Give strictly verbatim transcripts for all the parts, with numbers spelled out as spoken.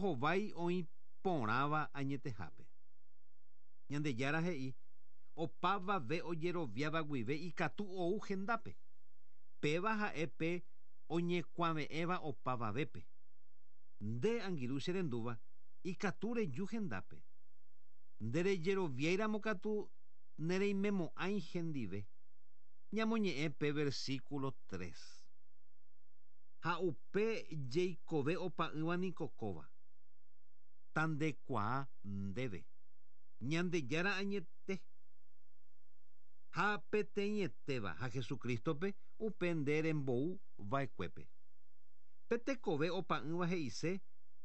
ñembohovái oĩ porãva añetehápe. Ñandejára he'i opavave ojeroviáva guive ikatu ou hendápe. Péva ha'e pe oñekuave'ẽva opavavépe. Nde angirũ che rendúva ikatu reju hendápe. Nde rejeroviáiramo katu nereimemo'ãi hendive. Ñamoñe'ẽ pe versículo tres. Ha upe jeikove opa'ỹva niko kóva. Tandekuaa ndéve. Ñandejára añete. Ha peteĩetéva ha Jesucristope upe nde rembou va'ekuépe. Pe tekove opa'ỹva he'ise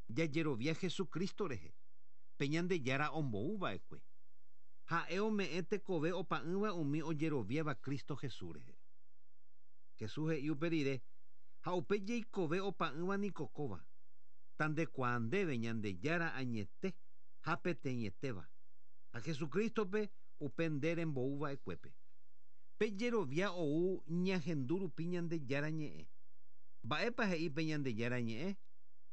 jajerovia Jesucristo rehe. Pe Ñandejára ombou va'ekue. Ha'e ome'ẽ tekove opa'ỹva umi ojeroviáva Cristo Jesús rehe. Jesús he'i upe rire ha upe jeikove opa'ỹva niko kóva. Tandekuaa ndéve Ñandejára añete ha peteĩetéva. Ha Jesucristope upe nde rembou va'ekuépe. Pe jerovia ou ñahendu rupi Ñandejára ñe'ẽ. Mba'épa he'i pe Ñandejára ñe'ẽ?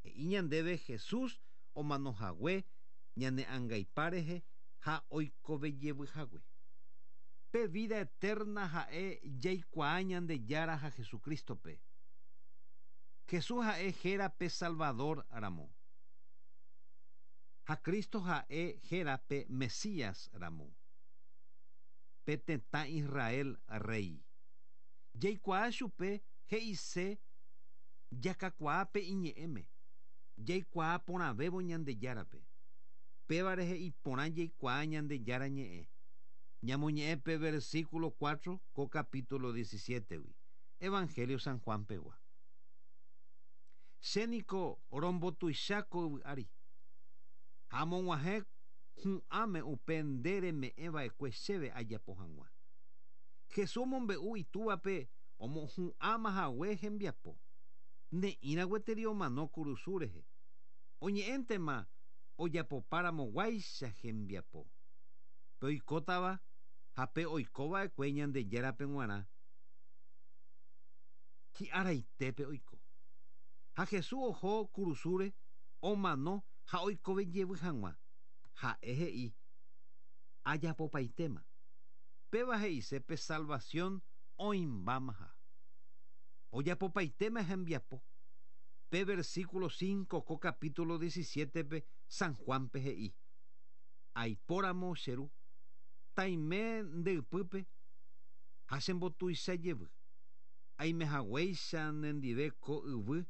He'i ñandéve Jesús omanohague ñane angaipa rehe ha oikovejevyhague. Pe vida eterna ha'e jaikuaa Ñandejára ha Jesucristope. Jesús ha'e héra pe Salvador ramo. Ha Cristo ha'e héra pe Mesías ramo. Pe tetã Israel rey. Jaikuaa chupe he'ise jakakuaa pe iñe'ẽme. Jaikuaa porãvévo Ñandejárape. Péva rehe iporã jaikuaa Ñandejára ñe'ẽ. Ñamoñe'ẽ pe versículo cuatro ko capítulo diecisiete-gui. Evangelio San Juan pegua. Che niko rombotuicha ko yvy ári. Ha amog̃uahẽ hu'ãme upe nde reme'ẽva'ekue chéve ajapo hag̃ua. Jesús omombe'u itúvape omohu'ãma hague hembiapo. Ne'ĩra gueteri omano kurusu rehe. Oñe'ẽntema ojapopáramoguáicha hembiapo. Pe oikótava ha pe oikova'ekue Ñandejárape g̃uarã hi'araitépe oiko. Ha Jesús oho kurusúre omano ha oikovejevy hag̃ua. Ha'e he'i ajapopaitéma. Péva he'ise pe salvación oĩmbámaha. Ojapopaitéma hembiapo. Pe versículo cinco ko capítulo diecisiete-pe San Juanpe he'i. Aipóramo che ru, taime nde ypýpe ha chembotuichajevy. Aimehaguéicha nendive ko yvy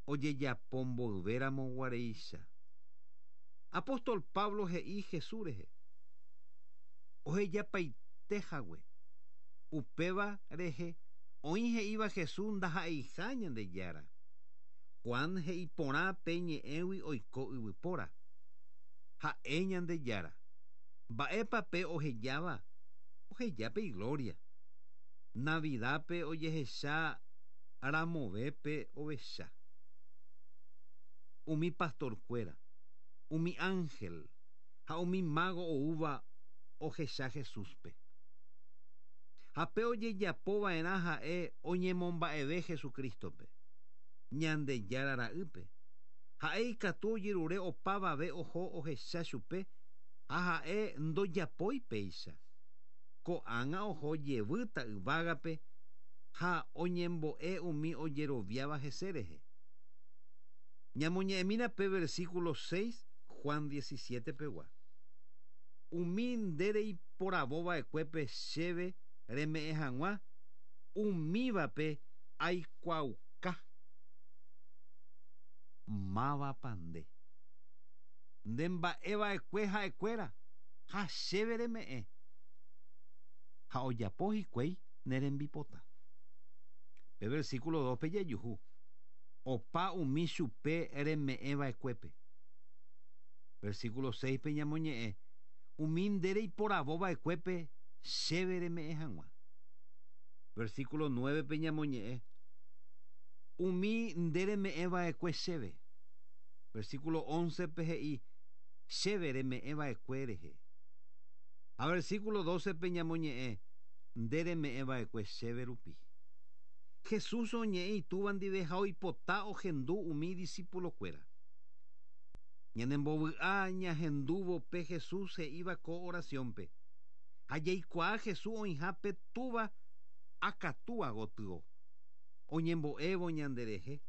ojejapomboyvéramo guaréicha. Apóstol Pablo he'i Jesús rehe. Ohejapaite hague. Upéva rehe oĩ he'íva Jesús ndaha'eiha Ñandejára. Juan he'i porã pe ñe'ẽgui oiko yvypóra. Ha'e Ñandejára. Mba'épa pe ohejáva? Oheja pe igloria. Navidápe ojehecha ramovépe ovecha. Umi pastorkuéra, umi ángel ha umi mago oúva ohecha Jesúspe. Ha pe ojejapova'erã ha'e oñemomba'eve Jesucristope. Ñandejára ra'ýpe. Ha'e ikatu ojerure opavave oho ohecha chupe ha ha'e ndojapói péicha. Ko'ág̃a oho jevýta yvágape ha oñembo'e umi ojeroviáva hese rehe. Ñamoñe'ẽmína pe versículo seis Juan diecisiete pegua. Umi nde reiporavova'ekuépe chéve reme'ẽ hag̃ua umívape aikuaauka. Mávapa nde. Nde mba'eva'ekue ha'ekuéra ha chéve reme'ẽ. Ha ojapo hikuái ne rembipota. Pe versículo dos pe jajuhu. Opa umi chupe reme'ẽva'ekuépe. Versículo seis pe ñamoñe'ẽ. Umi nde reiporavova'ekuépe chéve reme'ẽ hag̃ua. Versículo nueve pe ñamoñe'ẽ. Umi nde reme'ẽva'ekue chéve. Versículo once pe he'i chéve reme'ẽva'ekue rehe. Ha versículo doce pe ñamoñe'ẽ nde reme'ẽva'ekue chéve rupi. Jesús oñe'ẽ itúva ndive ha oipota ohendu umi discípulokuéra. Ñanembovy'a ñahendúvo pe Jesús he'íva ko oraciónpe. Ha jaikuaa Jesús oĩhápe túva akatúa gotyo. Oñembo'évo ñanderehe.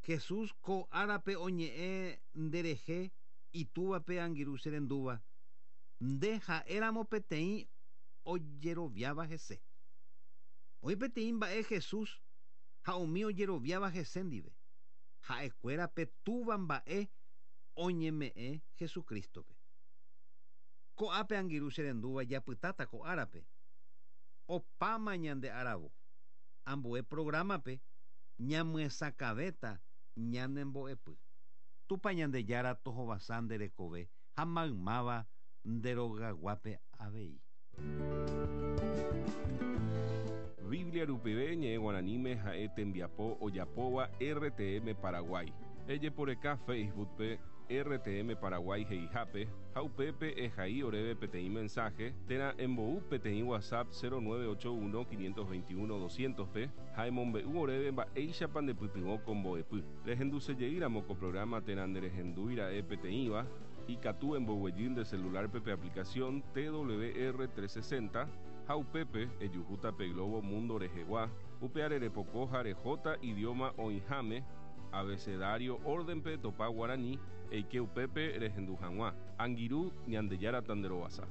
Jesús ko árape oñe'ẽ nderehe itúvape angirũ che rendúva. Nde ha'éramo peteĩ ojeroviáva hese. Oĩ peteĩ mba'e Jesús ha umi ojeroviáva hese ndive. Ha'ekuéra pe túva mba'e oñeme'ẽ Jesucristope. Ko'ápe angirũ che rendúva japytáta ko árape. Opáma ñande aravo. Ambue programape ñamyesakãvéta ñanembo'epy. Tupã Ñandejára tohovasa nde rekove ha maymáva nde rogaguápe avei. Biblia rupive ñe'ẽ guaraníme ha'e tembiapo ojapóva R T M Paraguay. Ejeporeka Facebookpe R T M Paraguay he'ihápe ha upépe ehai oréve peteĩ mensaje térã embou peteĩ WhatsApp cero nueve ocho uno quinientos veintiuno doscientos pe ha emombe'u oréve mba'éichapa ndepytyvõ ko mbo'epy. Rehendusejeýramo ko programa térã nderehendúira'e peteĩva, ikatu emboguejy nde celularpe pe aplicación T W R trescientos sesenta ha upépe ejuhúta pe globo mundo rehegua, upe arerepoko ha rehóta idioma oĩháme abecedario órdenpe topa guarani eike upépe rehendu hag̃ua. Angirũ, Ñandejára tanderovasa.